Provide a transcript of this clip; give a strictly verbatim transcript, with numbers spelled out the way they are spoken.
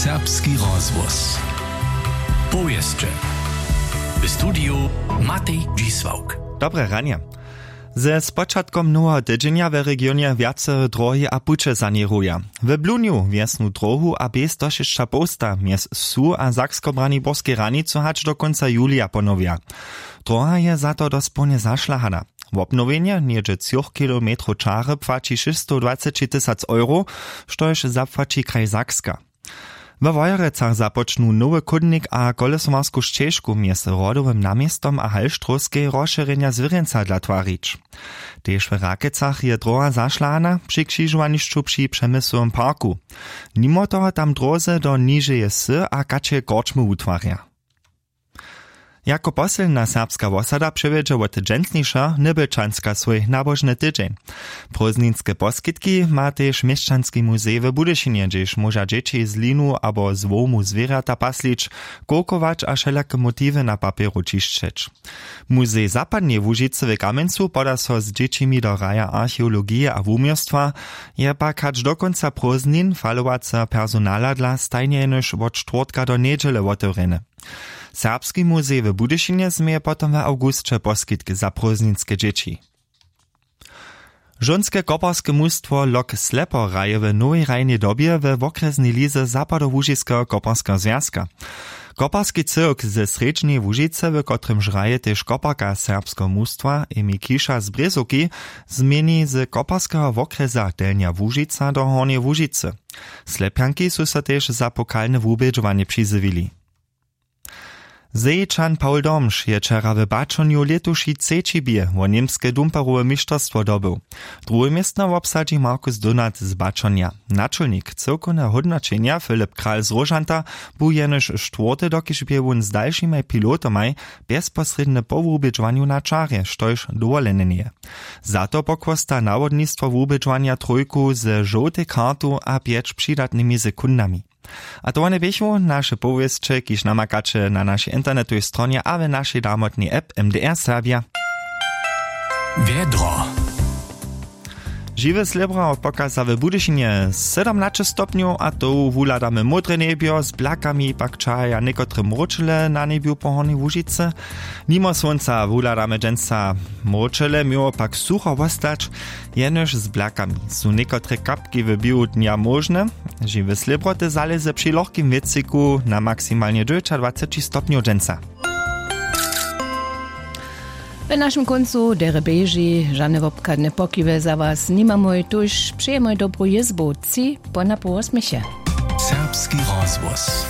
Serbski rozhłos. Powěsće. W studiju Matej Dźisławk. Dobre ranje. Ze spočatkom noweho tydźenja w regionje wjace dróhi a puće saněruja. W blunju wjesnu dróhu a bě stošěsćapołsta mjez wsu a sakskobraniborskej hranicu hač do kónca julija ponowja. Dróha je za to dospołnje zašlahana. Wobnowjenje něhdźe třoch kilometrow čary płaći šěsćstowdwaceći tysac euro, štož zapłaći kraj Sakska. We Wojerecach započnu nowy chódnik a kolesowarsku šćežku mjez Rodowym naměstom a Halštrowskej rozšěrjenja zwěrjenca dla twarić. Tež w Rakecach je dróha zašlahana při křižowanišću při Přemyslowym parku. Nimo toho tam dróze do nižeje wsy a kačeje korčmy wutwarja. Jako posledna serbska wosada přewjedźe wot dźensnišeho Nybjelčanska swój nabožny tydźeń. Prózdninske poskitki ma tež měšćanski muzej w Budyšinje, hdźež móža dźěći z linu abo z wołmu zwěrjata paslić, kowkować a wšelake motiwy na papjeru ćišćeć. Muzej zapadneje Łužicy w Kamjencu poda so z dźěćimi do raja archeologije a wuměłstwa, je pak hač do kónca prózdnin falowaceho personala dla stajnje jenož wot štwórtka do njedźele wotewrjeny. Serbski muzej w Budyšinje změje potom w awgusće poskitk za prózdninske dźěći. Žónske koparske mustwo Lok Slepo hraje w nowej hrajnej dobje we wokrjesnej lize Zapadołužiskeho koparskeho zwjazka. Koparski cyłk ze srjedźneje Łužicy, w kotrymž hraje tež koparka serbskeho mustwa Emi Kiša z Brězowki, změni z koparskeho wokrjesa Delnja Łužica do Hornjeje Łužicy. Slepjanki su so tež za pokalne wubědźowanje přizjewili. Zejčan Paul Domš je wčera w Baćonju lětuši třeći bě wo němske dumperowe mišterstwo dobył. Druhe městno wobsadźi Markus Donat z Baćonja. Načolnik cyłkowneho hódnoćenja Filip Kral z Róžanta bu jenož štwórty, dokiž bě wón z dalšimaj pilotomaj bjezposrědnje po wubědźowanju na čarje, štož dowolene njeje. Za to pochłosta nawodnistwo wubědźowanja trójku ze žołtej kartu a pjeć přidatnymi sekundami. A to wone běchu naše powěsće, kiž namakaće na našej internetowej stronje a w našej damotnej app M D R Serbja. Wjedro. Žiwe slěbra pokaza w Budyšinje sydomnaće stopnjow a to wuhladamy módre njebjo, z blakami pak čahaja někotre mróčele na njebju po Hornjej Łužicy. Nimo słónca wuhladamy dźensa mróčele, měło pak sucho wostać, jenož z blakami su někotre kapki w běhu dnja móžne. Žiwe slěbroty zalěze při lochkim wětřiku na maksimalnje dźewjećadwaceći stopnjow dźensa. W našim kóncu derje běži, žane wobchadne pokiwy za was nimamoj, tuž přejemoj dobru jězbu, tři po na połosměchje. Serbski rozhłos.